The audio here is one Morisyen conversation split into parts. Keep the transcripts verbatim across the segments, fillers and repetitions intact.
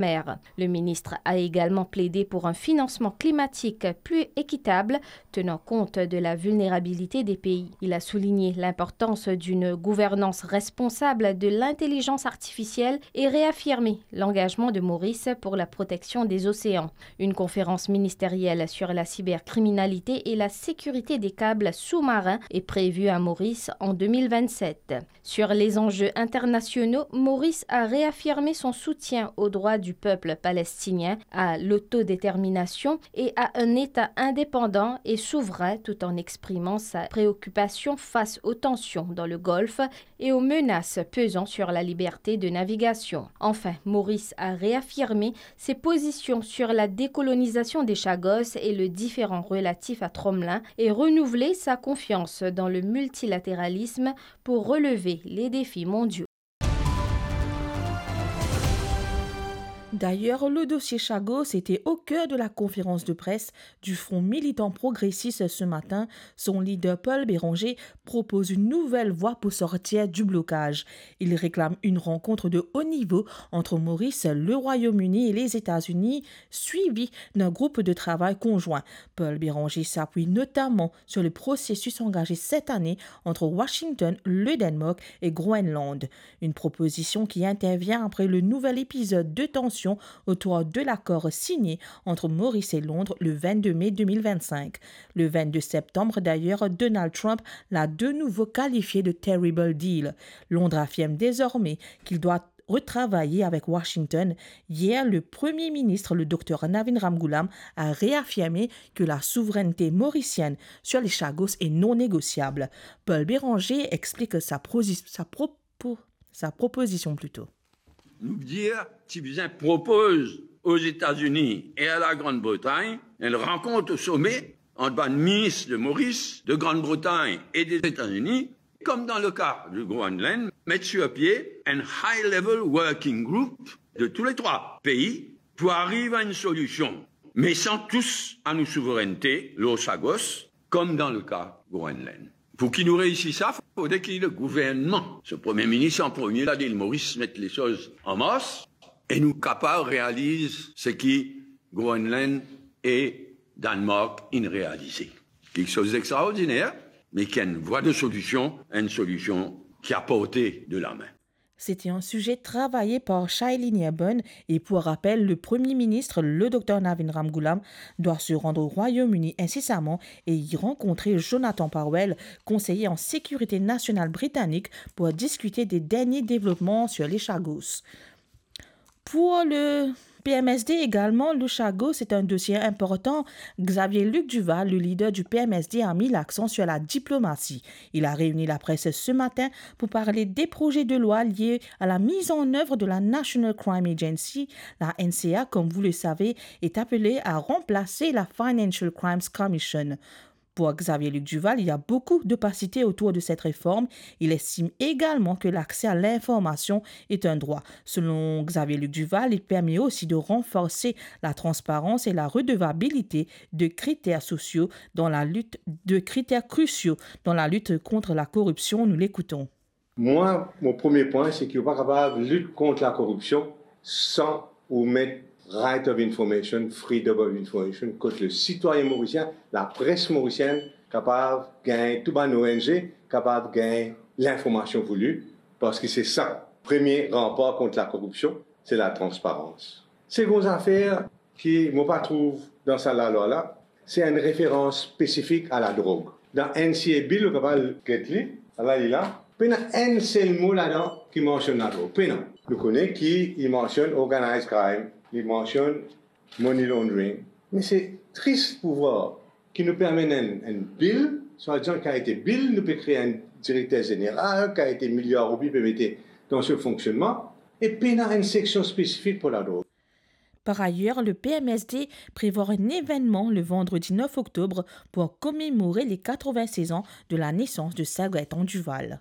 mer. Le ministre a également plaidé pour un financement climatique plus équitable, tenant compte de la vulnérabilité des pays. Il a souligné l'importance d'une gouvernance responsable de l'intelligence artificielle et réaffirmé l'engagement de Maurice pour la protection des océans. Une conférence ministérielle sur la cybercriminalité et la sécurité des câbles sous-marins est prévue à Maurice en deux mille vingt-sept. Sur les enjeux internationaux, Maurice a réaffirmé son soutien au droit du peuple palestinien à l'autodétermination et à un État indépendant et souverain, tout en exprimant sa préoccupation face aux tensions dans le Golfe et aux menaces pesant sur la liberté de navigation. Enfin, Maurice a réaffirmé ses positions sur la décolonisation des Chagos et le différend relatif à Tromelin et renouvelé sa confiance dans le multilatéralisme pour relever les défis mondiaux. D'ailleurs, le dossier Chagos était au cœur de la conférence de presse du Front militant progressiste ce matin. Son leader Paul Bérenger propose une nouvelle voie pour sortir du blocage. Il réclame une rencontre de haut niveau entre Maurice, le Royaume-Uni et les États-Unis, suivie d'un groupe de travail conjoint. Paul Bérenger s'appuie notamment sur le processus engagé cette année entre Washington, le Danemark et Groenland. Une proposition qui intervient après le nouvel épisode de tension autour de l'accord signé entre Maurice et Londres le vingt-deux mai deux mille vingt-cinq. Le vingt-deux septembre, d'ailleurs, Donald Trump l'a de nouveau qualifié de terrible deal. Londres affirme désormais qu'il doit retravailler avec Washington. Hier, le Premier ministre, le docteur Navin Ramgoolam, a réaffirmé que la souveraineté mauricienne sur les Chagos est non négociable. Paul Bérenger explique sa, prosi- sa propo- sa proposition plutôt. Nou dir, ti bizin propoz aux États-Unis et à la Grande-Bretagne une rencontre au sommet entre bann minis de Maurice, de Grande-Bretagne et des États-Unis, comme dans le cas du Groenland, mettre sur pied un high-level working group de tous les trois pays pour arriver à une solution, mais sans tous à nos souverainetés, l'eau Chagos, comme dans le cas Groenland. Pou ki nou reisi sa, fode ki le gouvernman, so Premie Minis an premie, ladil Moris, met lesoz an mars e nou kapav realiz seki Groenland e Danmark inn realize. Kiksoz extraordiner, me ki enn vwa de solision, enn solision ki a porte de lame. C'était un sujet travaillé par Shailene Erbun et pour rappel, le Premier ministre, le docteur Navin Ramgoolam, doit se rendre au Royaume-Uni incessamment et y rencontrer Jonathan Powell, conseiller en sécurité nationale britannique, pour discuter des derniers développements sur les Chagos. Pour le P M S D également, le Chagos, c'est un dossier important. Xavier Luc Duval, le leader du P M S D, a mis l'accent sur la diplomatie. Il a réuni la presse ce matin pour parler des projets de loi liés à la mise en œuvre de la National Crime Agency. La N C A, comme vous le savez, est appelée à remplacer la Financial Crimes Commission. Pour Xavier Luc Duval, il y a beaucoup d'opacité autour de cette réforme. Il estime également que l'accès à l'information est un droit. Selon Xavier Luc Duval, il permet aussi de renforcer la transparence et la redevabilité de critères sociaux dans la lutte, de critères cruciaux dans la lutte contre la corruption. Nous l'écoutons. Mwa, mo premie pwin, se ki ou pa kapav lit kont lakoripsion san ou met right of information, freedom of information, kot le sitwayin morisien, lapres morisienn kapav gagn, tou bann O N G kapav gagn linformasion vouli, parski se sa, premie ranpar kont lakoripsion, se latransparans. Segon zafer ki mo pa trouv dan sa lalwa la, se enn referans spesifik a ladrog. Dan N C A Bill, ou kapav get li, ala li la, pena enn sel mo ladan ki mansionn ladrog. Pena. Nou kone ki li mansionn organized crime, li mansionn money laundering. Me se tris pou vwar ki nou pe amenn enn, enn bill, swadizan ki a ete bill, nou pe kre enn direkter zeneral, ki a ete miliar roupi pe mete dan so fonksionnman, e pena enn seksion spesifik pou ladrog. Par ailleurs, le P M S D prévoit un événement le vendredi neuf octobre pour commémorer les quatre-vingt-seize ans de la naissance de Sagratan Duval.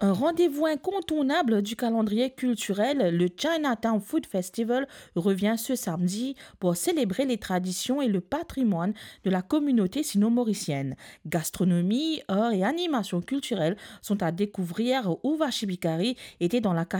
Un rendez-vous incontournable du calendrier culturel, le Chinatown Food Festival, revient ce samedi pour célébrer les traditions et le patrimoine de la communauté sino-mauricienne. Gastronomie, art et animations culturelles sont à découvrir. Urvashi Bikari était dans la